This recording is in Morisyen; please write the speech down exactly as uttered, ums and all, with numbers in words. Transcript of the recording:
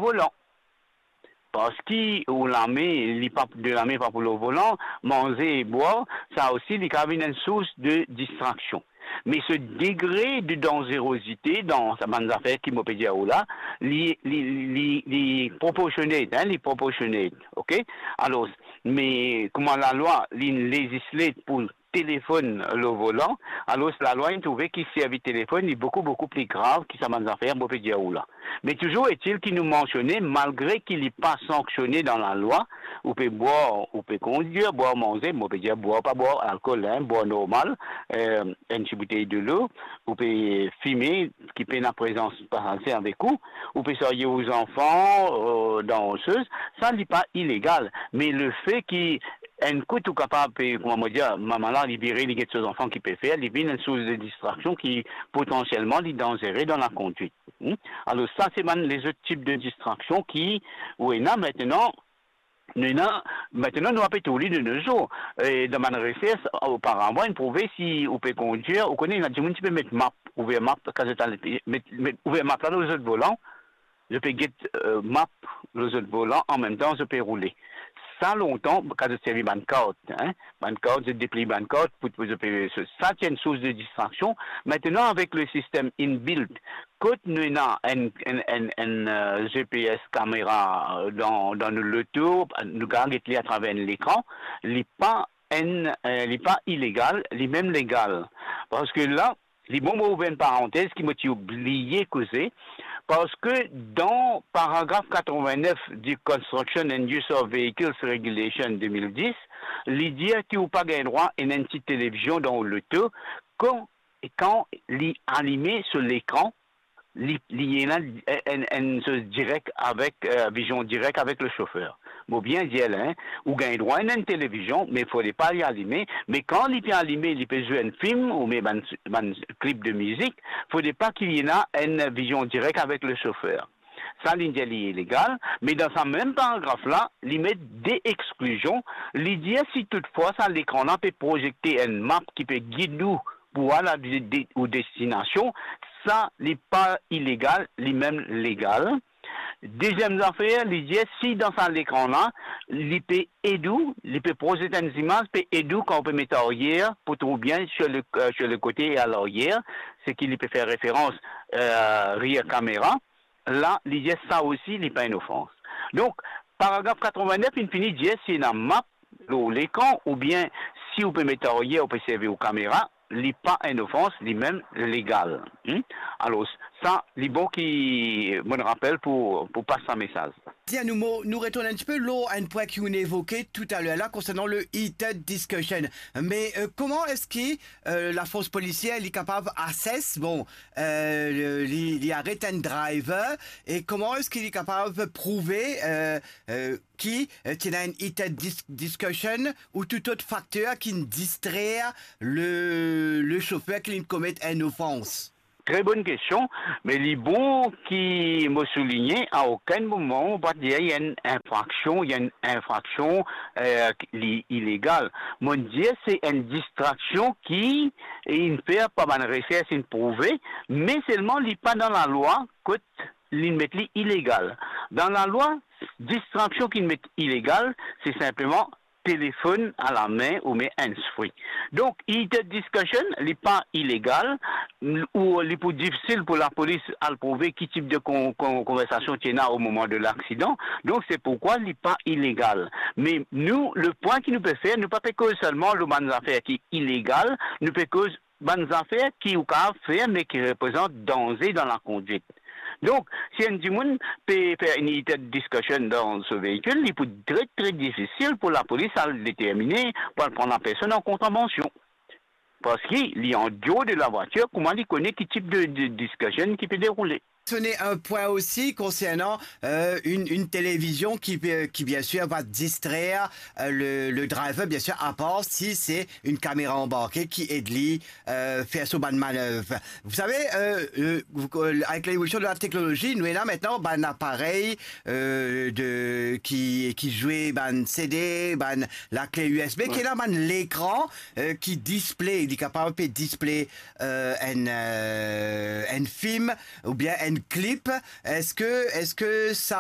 volan. Parski ou lame, li pa, de lame pa pou lor volan, manze e bwar, sa osi li kapav vinn enn sours de distraksion. Me so degre de danzerozite dan sa bann zafer ki mo pe dir ou la, li, li, li, li proporsionate, hein, li proporsionate, ok? Alor, me kouma lalwa, li lezisle pou telefonn lor volan, alor lalwa inn trouve ki servi telefonn, li boukou, boukou pli grav ki sa bann zafer mo pe dir ou la. Me touzour etil ki nou mansione, malgre ki li pa sanksione dan lalwa, ou pe bwar, ou pe kondir, bwar manze, mo pe dir bwar, pa bwar alkol, hein, bwar normal, eh, enn ti boutey delo, ou pe fime, ki pena prezans pasaze avek ou, ou pe sarye ou zanfan, eh, dan soz, sa li pa ilegal. Me lefe ki enn kout ou kapav, eh, kouma mo dir, mama la, li vire, li get so zanfan ki pe fer, li vinn enn sours de distraksion ki potansielman li danzere dan lakondwit. Hmm? Alor sa se bann lezot tip de distraksion ki ou ena. Aster, nou ena, aster nou ape trouv li de nos jours. E dan bann resers, oparavan, inn prouve si ou pe kondir, ou kone, ena dimoun ti pe met map, ouver map, kan zot al, met, met, ouver map la lor zot volan, zot pe get, eh, map lor zot volan, anmemtan zot pe roule. Sa lontan, kan zot servi bann kart, hein, bann kart, zot depliy bann kart, pou, pou zot pe, sa ti enn sours de distraksion. Aster, avek le sistem inbuilt, kot nou ena enn, enn, enn, enn, eh, G P S kamera, eh, dan, dan nou loto, nou kapav get li atraver enn lekran, li pa enn, eh, li pa ilegal, li mem legal. Parski la, li bon mo ouver enn parantez ki mo ti oubliye koze, parski dan paragraf katrevin-nef du Construction and Use of Vehicles Regulation de mil dis, li dir ki ou pa gagn drwa ena enn ti televizion dan ou loto kan, kan li alime so lekran, li, li ena enn, enn, enn soz direk avek, eh, vizion direk avek le sofer. Mo bien dir la, hein, ou gagn drwa ena enn televizion, me fode pa li alime, me kan li pe alime, li pe zwe enn fim, oubien bann, bann klip de mizik, fode pa ki li ena enn vizion direk avek le sofer. Sa, li dir li ilegal, me dan sa mem paragraf la, li met de exklizion, li dir si toutfwa sa lekran la pe prozekte enn map ki pe gid ou pou al a de, de, ou destinasion, sa li pa ilegal, li mem legal. Deziem zafer, li dir si dan sa lekran la, li pe ed ou, li pe prozekte enn zimaz, pe ed ou kan ou pe met aryer, pou trouv bien sur le, eh, sur le kote e a laryer, seki li pe fer referans, eh, rear camera, la, li dir sa osi, li pa enn ofans. Donk, paragraf katrevin-nef, inn fini dir si ena map lor lekran, oubien si ou pe met aryer, ou pe servi ou kamera, li pa enn ofans, li mem legal. Hmm? Alor, sa, li bon ki, mo rapel pou, pou pas sa mesaz. Tiens, nou, mo, nou retourn enn tipe lor enn pwin ki ou'nn evoke toutaler la, konsernan le heated discussion. Me, eh, kouma eski, eh, lafors polisier, li kapav assess, bon, eh, li, li aret enn driver, e kouma eski li kapav prouve, eh, eh, ki, eh, ti ena enn heated dis-, discussion ou tou lot fakter ki'nn distrer le, le sofer ki'nn komet enn ofans? Tre bonn kestion, me li bon ki mo souligne, a okenn moman mo pa dir li enn infraksion, li enn infraksion, eh, li ilegal. Mo'nn dir se enn distraksion ki inn fer par bann resers, inn prouve, me selman li pa dan lalwa kot li'nn met li ilegal. Dan lalwa, distraksion ki'nn met ilegal, se sinpleman telefonn a lame oubien hands-free. Donk, heated discussion, li pa ilegal, ou li pou difisil pou lapolis al prouve ki tip de kon-, kon-, konversasion ti ena o moman de laksidan. Donk, se pourkwa li pa ilegal. Me nou, le pwin ki nou pe fer, nou pa pe koz selman lor bann zafer ki ilegal, nou pe koz bann zafer ki ou kapav fer, me ki reprezant danze dan lakondwit. Donk, si enn dimoun pe fer enn heated discussion dan so veikil, li pou tre, tre difisil pou lapolis al determine, pou al pran lapersonn an kontravansion. Parski li an deor de lavwatir, kouma li kone ki tip de, de discussion ki pe deroule? Mensionn enn pwin osi konsernan, euh, enn, enn televizion ki, euh, ki, bien sûr, va distrer, euh, le, le driver, bien sûr, apar si se enn kamera anbarke ki ed li, euh, fer so bann manev. Vous savez, euh, euh, vous, euh, avec l'évolution de la technologie, nou ena aster bann aparey, euh, de, ki, ki zwe bann C D, bann lakle U S B, ouais, ki ena bann lekran, euh, ki display, li kapav pe display, euh, enn, euh, enn fim oubien enn klip. Eski, eski sa